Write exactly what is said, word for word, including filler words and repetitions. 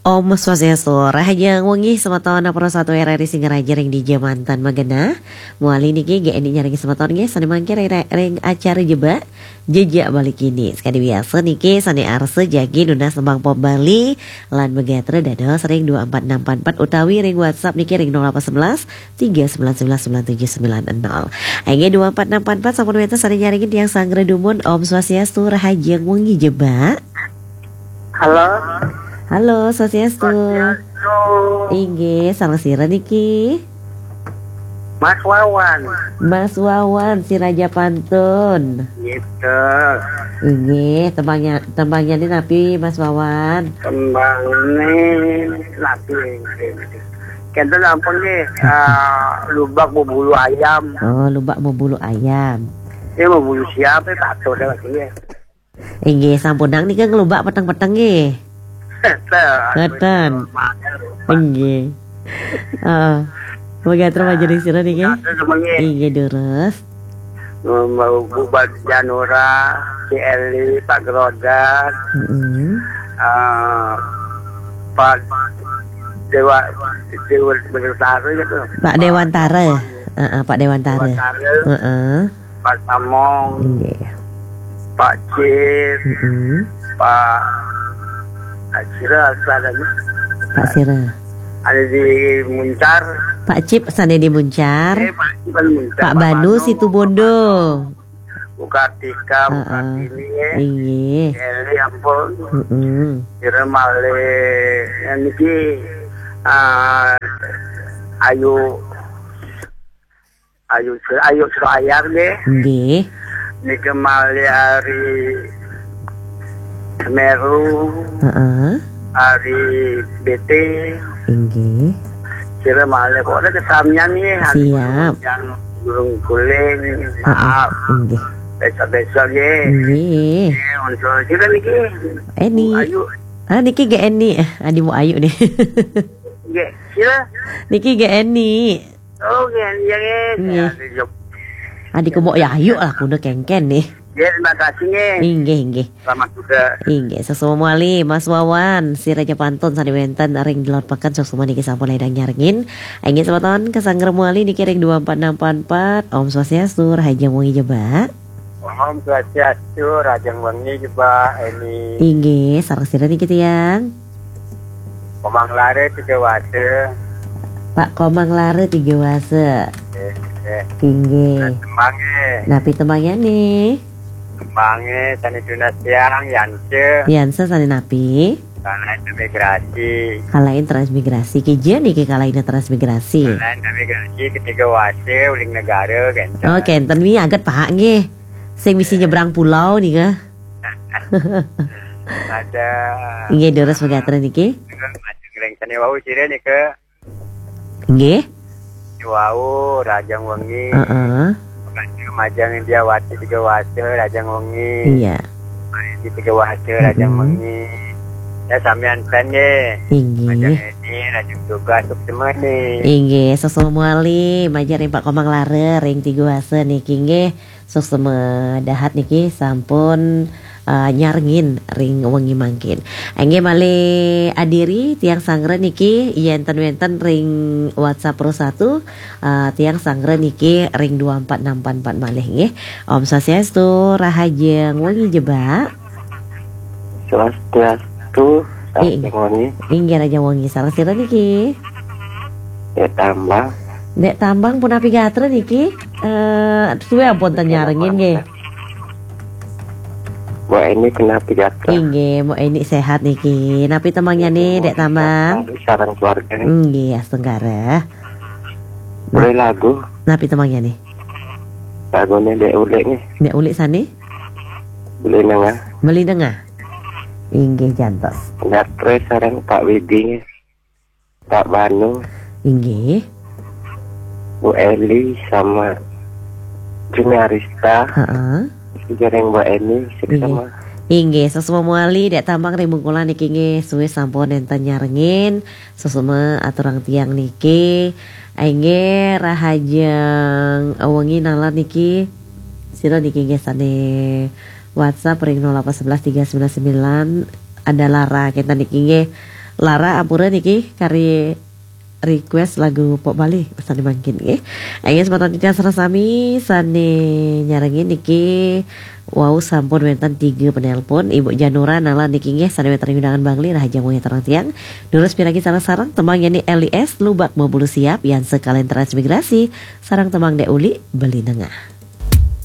Om Swastiastu, rahajeng wengi semeton Pro satu R R I Singaraja ring dija manten magenah. Mawali niki G N I nyarengin semeton nggih, sane mangkin ring, ring acara Jebak, Jejak Bali Kini. Sakadi biasa niki sane arsa jagi nunas tembang pop Bali lan magatra dados ring dua empat enam empat empat utawi ring WhatsApp niki ring nol delapan sebelas tiga sembilan sembilan sembilan tujuh sembilan nol. Inggih, dua empat enam empat empat sampun wenten sane nyarengin tiang sanggra dumun. Om Swastiastu, rahajeng wengi Jebak. Halo. Halo, Swastiastu. Swastiastu. Inggih, sareng sira niki? Mas Wawan. Mas Wawan, si Raja Pantun. Gitu. Inggih, tembangnya, tembangnya ini napi, Mas Wawan? Tembangnya napi? Kenten ampun nggih, eh, lubak berbulu ayam. Oh, lubak berbulu ayam. Ini berbulu siapa? Patuh dah lagi ya. Inggih, sampunang nika nglubak peteng-peteng nggih. Ngeten. Ngeten. Inggih. Heeh. Mangga terima jadi sira niki. Ngeten semengi. Inggih, durus. Mbak Bu Janura, si Eli, Pak Gerodan, Mm-mm. eh, Pak Dewa, Dewa Betara gitu. Pak Dewantara. Heeh, Pak Dewantara. Dewantara. Heeh. Pak Samong, Nggih. Pak Cip, Mm-mm. Pak, Pak Sira, ada, Pak Sira. Ada di Muncar. Pak Cip sane di Muncar. Eh, Pak Cip kan Muncar. Pak Pak Banu Banu. Situbondo. Bu Kartika, Bu Heeh. Kartini, ya. Inggih. Eli, ampun. Mm-mm. Kira malih, yang niki, ah, Ayu, Ayu, Ayu Surayar nggih. Nggih. Niki malih ari Semeru, Heeh. Ari B T. Inggih. Kira malih kok ada kesamian nggih, hari Siap. Yang burung guling, Heeh. Maaf. Inggih. Besok-besok nggih. Nggih. Nggih, untuk kira niki. Eni. Bu Ayu. Ah, niki G N I. Eh, adi Bu Ayu nih. Nggih, kira. Niki G N I. Oh, nggih, iya, nggih. Nggih. Saya di Jog-, Adi ku Mbok Yayu lah, kudu kengken nih. Nggih, terima kasih, nggih. Inggih, inggih. Selamat juga. Inggih, sesuai mawali, Mas Wawan, si Raja Pantun sane wenten ring Delod Peken, suksma niki sampun ledang nyarengin. Inggih, semeton kasanggra mawali niki ring dua empat enam empat empat. Om Swastiastu, rahajeng wengi Jebak. Om Swastiastu, rahajeng wengi Jebak, Eni. Inggih, sareng sira niki tiang? Komang Lare Tiga Wase. Pak Komang Lare Tiga Wase. Eh, eh. Inggih. Nah, tembange. Napi tembange nih? Tembange sane tunas tiang, Yanse. Yanse sane napi? Kalahin transmigrasi. Kalahin transmigrasi. Kija niki kalahin transmigrasi? Kalahin transmigrasi ketiga wase uling negara, kenten. Oh, kenten wi aget, Pak, nggih. Sing misi nyebrang pulau nika. Ada. Inggih, durus pegatra niki. Majeng ring sane wau sira nika. Nggih. Wau, rahajeng wengi. Heeh. Majeng Indiawati Tiga Wase, rahajeng wengi. Iya. Di Tiga Wase, rahajeng Mm-mm. wengi. Ya, samian ten nggih. Inggih. Majeng Edi, rahajeng tugas, suksma nih. Inggih, sesuai mawali, majeng ring Pak Komang Lare, ring Tiga Wase niki nggih. Suksma dahat niki sampun, eh, nyarengin ring wengi mangkin. Inggih malih adiri tiang sanggra niki yen ten wenten ring WhatsApp Pro satu, eh, tiang sanggra niki ring dua empat enam empat empat malih nggih. Om Swastiastu, rahajeng wengi Jebak. Swastiastu, I-, rahajeng wengi. Inggih, rahajeng wengi. Sareng sira niki? Dek Tambang. Dek Tambang punapi gatra niki? Eh, suwe ampun ten nyarengin nggih. Mbok Eni punapi gatra? Inggih, Mbok Eni sehat niki. Napi tembangne, Dek Tambang? Sareng keluarga. Nggih, astungkara. Boleh lagu? Napi tembangne? Lagune Dek Ulik nggih. Dek Ulik sane? Beli Nengah. Beli Nengah. Inggih, jantos. Gatre sareng Pak Widi nggih. Pak Banu. Inggih. Bu Eli sama Juni Arista. Heeh. Sareng Mbok Eni, inggih. Suksma. Inggih, suksma mawali, Dek Tambang ring Bungkulan niki nggih, suwe sampun nenten nyarengin, suksma aturang tiang niki. Inggih, rahajeng wengi nalar niki. Sira niki nggih sane WhatsApp ring nol delapan sebelas tiga sembilan sembilan ada lara kenten niki nggih. Lara ampura niki kari request lagu pop Bali sané mangkin nggih. Inggih semeton titiang sareng sami sané nyarengin niki wau sampun wénten tiga penelpon. Ibu Janura nala niki nggih sané wénten undangan Bangli, rahajeng wengi sareng tiang. Durus piragi sareng-sareng tembang yén L I S Lubak Mabulu Siap, yan sekalian transmigrasi sareng tembang Dék Uli Beli Nengah.